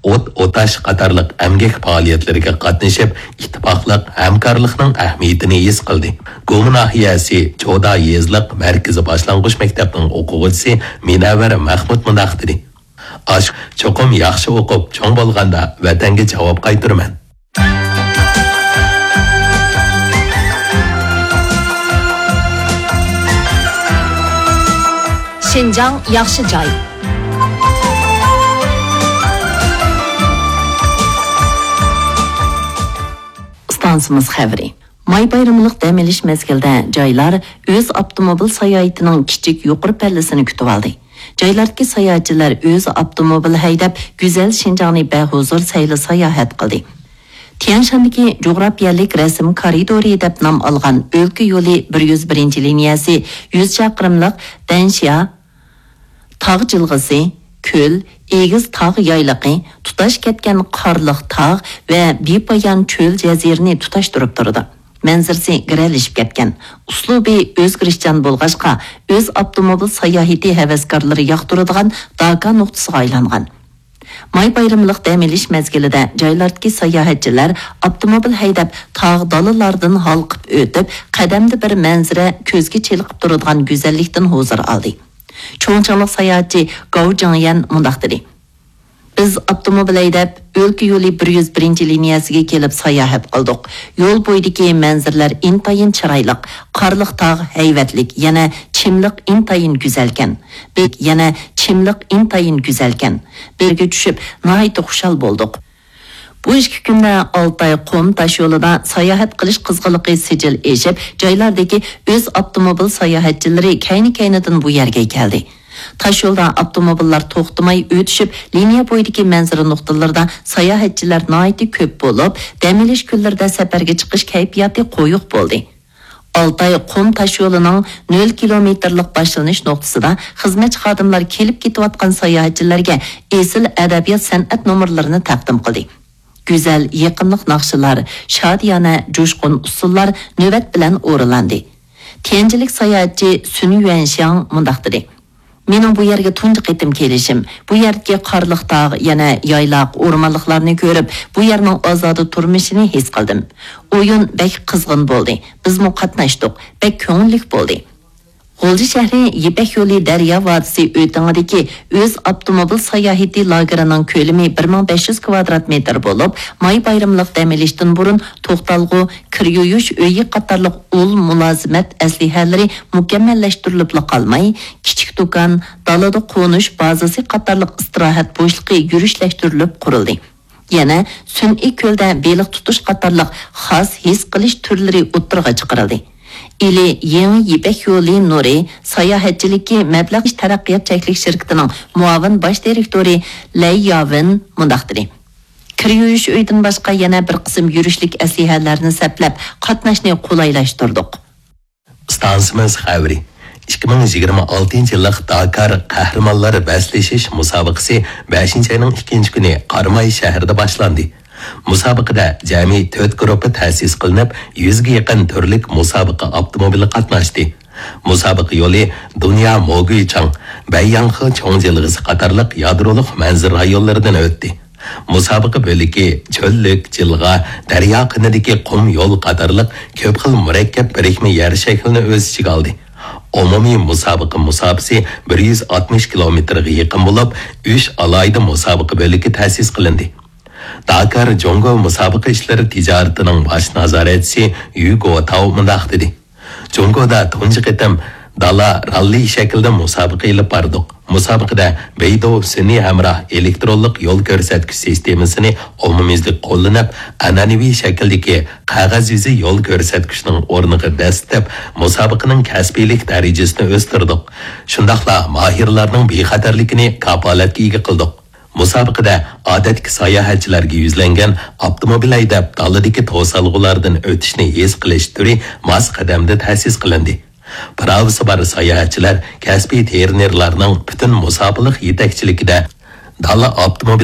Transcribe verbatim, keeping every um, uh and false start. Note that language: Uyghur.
ئوت ئوتاش قاتارلىق ئەمگەك پائالىيەتلىرىگە قاتنىشىپ، ئىتتىپاقلىق، ھەمكارلىقنىڭ ئەھمىيىتىنى ھېس قىلدى. گۇما ناھىيەسى چودا يېزىلىق مەركىزىي باشلانغۇچ مەكتەپنىڭ ئوقۇغۇچىسى مىنەۋەر مەخمۇت مۇنداق دېدى: «ئاش، چوقۇم ياخشى ئوقۇپ، چوڭ بولغاندا ۋەتەنگە جاۋاب قايتۇرىمەن.» شىنجاڭ ياخشى جاي. ئىستانسىمىز خەۋىرى. ماي بايرىملىق دەم ئېلىش مەزگىلىدە جايلار ئۆز ئاپتوموبىل ساياھىتىنىڭ كىچىك يۇقىرى پەللىسىنى كۈتۈۋالدى. جايلاردىكى ساياھەتچىلەر ئۆز ئاپتوموبىل ھەيدەپ، گۈزەل شىنجاڭنى بەھۇزۇر سەيلە ساياھەت قىلدى. تيەنشاندىكى جۇغراپىيەلىك رەسىم كارىدورى دەپ نام ئالغان ئۆلكە يولى بىر يۈز بىرىنچى لىنىيەسى يۈز چاقىرىملىق دەنشيا تاغ جىلغىسى، كۆل، ئېگىز تاغ يايلىقى، تۇتاش كەتكەن قارلىق تاغ ۋە بىپايان چۆل جەزىرىنى تۇتاشتۇرۇپ تۇرىدۇ. مەنزىرىسى گىرەلىشىپ كەتكەن، ئۇسلۇبى ئۆزگىرىشچان بولغاچقا، ئۆز ئاپتوموبىل ساياھىتى ھەۋەسكارلىرى ياقتۇرىدىغان داكا نۇقتىسىغا ئايلانغان. ماي بايرىملىق دەم ئېلىش مەزگىلىدە جايلاردىكى ساياھەتچىلەر ئاپتوموبىل ھەيدەپ، تاغ دالىلاردىن ھالقىپ ئۆتۈپ، قەدەمدە بىر مەنزىرە كۆزگە چېلىقىپ تۇرىدىغان گۈزەللىكتىن ھۇزۇر ئالدى. چۇڭچىڭلىق ساياھەتچى گاۋ جىڭيەن مۇنداق دېدى: «بىز ئاپتوموبىل ھەيدەپ، ئۆلكە يولى بىر يۈز بىرىنچى لىنىيەسىگە كېلىپ ساياھەت قىلدۇق. يول بويىدىكى مەنزىرىلەر ئىنتايىن چىرايلىق، قارلىق تاغ ھەيۋەتلىك، يەنە چىملىق ئىنتايىن گۈزەلكەن. بىز يەنە چىملىق ئىنتايىن گۈزەلكەن. بىرگە چۈشۈپ، ناھايىتى خۇشال بولدۇق.» بۇ ئىككى كۈندە ئالتاي قۇم تاشيولىدا ساياھەت قىلىش قىزغىنلىقى سىجىل ئېشىپ، جايلاردىكى ئۆز ئاپتوموبىل ساياھەتچىلىرى كەينى-كەينىدىن بۇ يەرگە كەلدى. تاشيولدا ئاپتوموبىللار توختىماي ئۆتۈشۈپ، لىنىيە بويىدىكى مەنزىرە نۇقتىلىرىدا ساياھەتچىلەر ناھايىتى كۆپ بولۇپ، دەم ئېلىش كۈنلىرىدە سەپەرگە چىقىش كەيپىياتى قويۇق بولدى. ئالتاي قۇم تاشيولىنىڭ نۆل كىلومېتىرلىق باشلىنىش نۇقتىسىدا خىزمەتچى خادىملار كېلىپ كېتىۋاتقان ساياھەتچىلەرگە ئېسىل ئەدەبىيات-سەنئەت نومۇرلىرىنى تەقدىم قىلدى. گۈزەل، يېقىملىق ناخشىلار، شادىيانە، جۇشقۇن ئۇسسۇللار نۆۋەت بىلەن ئورۇنلاندى. تيەنجىنلىك ساياھەتچى سۈن يۈەنشياڭ مۇنداق دېدى: «مېنىڭ بۇ يەرگە تۇنجى قېتىم كېلىشىم. بۇ يەردىكى قارلىق تاغ، يەنە يايلاق، ئورمانلىقلارنى كۆرۈپ، بۇ يەرنىڭ ئازادە تۇرمۇشىنى ھېس قىلدىم. ئويۇن بەك قىزغىن بولدى. بىزمۇ قاتناشتۇق. بەك كۆڭۈللۈك بولدى.» غۇلجا شەھىرى يىپەك يولى دەريا ۋادىسى ئۆتىڭىدىكى ئۆز ئاپتوموبىل ساياھىتى لاگېرىنىڭ كۆلىمى بىر مىڭ بەش يۈز كىۋادرات مېتىر بولۇپ، ماي بايرىملىق دەم ئېلىشتىن بۇرۇن توختالغۇ، كىر يۇيۇش ئۆيى قاتارلىق ئۇل مۇلازىمەت ئەسلىھەلىرى مۇكەممەللەشتۈرۈلۈپلا قالماي، كىچىك دۇكان، دالىدا قونۇش بازىسى قاتارلىق ئىستىراھەت بوشلۇقى يۈرۈشلەشتۈرۈلۈپ قۇرۇلدى. يەنە سۈنئىي كۆلدە بېلىق تۇتۇش قاتارلىق خاس ھېس قىلىش تۈرلىرى ئوتتۇرىغا چىقىرىلدى. ئىلى يېڭى يىپەك يولى نۇرى ساياھەتچىلىكى مەبلەغ تەرەققىيات چەكلىك شىركىتىنىڭ مۇئاۋىن باش دىرېكتورى لەي ياۋېن مۇنداق دېدى: «كىر يۇيۇش ئۆيىدىن باشقا يەنە بىر قىسىم يۈرۈشلۈك ئەسلىھەلەرنى سەپلەپ، قاتناشنى قولايلاشتۇردۇق.» ئىستانسىمىز خەۋىرى. ئىككى مىڭ يىگىرمە ئالتىنچى يىللىق داكار قەھرىمانلار بەسلىشىش مۇسابىقىسى بەشىنچى ئاينىڭ ئىككىنچى كۈنى قاراماي شەھىرىدە باشلاندى. مۇسابىقىدە جەمئىي تۆت گۇرۇپپا تەسىس قىلىنىپ، يۈزگە يېقىن تۈرلۈك مۇسابىقە ئاپتوموبىلى قاتناشتى. مۇسابىقە يولى دۇنيا موگۇيچاڭ، بەيياڭخې چوڭ جىلغىسى قاتارلىق يادرولۇق مەنزىرە رايونلىرىدىن ئۆتتى. مۇسابىقە بۆلىكى چۆللۈك، جىلغا، دەريا قىنىدىكى قۇم يول قاتارلىق كۆپ خىل مۇرەككەپ بىرىكمە يەر شەكلىنى ئۆز ئىچىگە ئالدى. ئومۇمىي مۇسابىقە مۇساپىسى بىر يۈز ئاتمىش كىلومېتىرغا يېقىن بولۇپ، ئۈچ ئالاھىدە مۇسابىقە بۆلىكى تەسىس قىلىندى. داكار جۇڭگو مۇسابىقە ئىشلىرى تىجارىتىنىڭ باش نازارەتچىسى يۈ گوتاۋ مۇنداق دېدى: «جۇڭگودا تۇنجى قېتىم دالا راللى شەكلىدە مۇسابىقە ئېلىپ باردۇق. مۇسابىقىدە بېيدۇ سۈنئىي ھەمراھ ئېلېكترونلۇق يول كۆرسەتكۈچ سىستېمىسىنى ئومۇميۈزلۈك قوللىنىپ، ئەنئەنىۋى شەكىلدىكى قەغەز يۈزى يول كۆرسەتكۈچنىڭ ئورنىغا دەسسىتىپ، مۇسابىقىنىڭ كەسپىيلىك دەرىجىسىنى ئۆستۈردۇق. شۇنداقلا ماھىرلارنىڭ بىخەتەرلىكىنى كاپالەتكە ئىگە قىلدۇق.» مۇسابىقىدە ئادەتتىكى ساياھەتچىلەرگە يۈزلەنگەن ئاپتوموبىل ھەيدەپ دالىدىكى توسالغۇلاردىن ئۆتۈشنى ھېس قىلىش تۈرى ماس قەدەمدە تەسىس قىلىندى. پىراۋىسى بار ساياھەتچىلەر كەسپىي ترېنېرلارنىڭ پۈتۈن مۇساپىلىق يېتەكچىلىكىدە دالا ئاپتوموبىل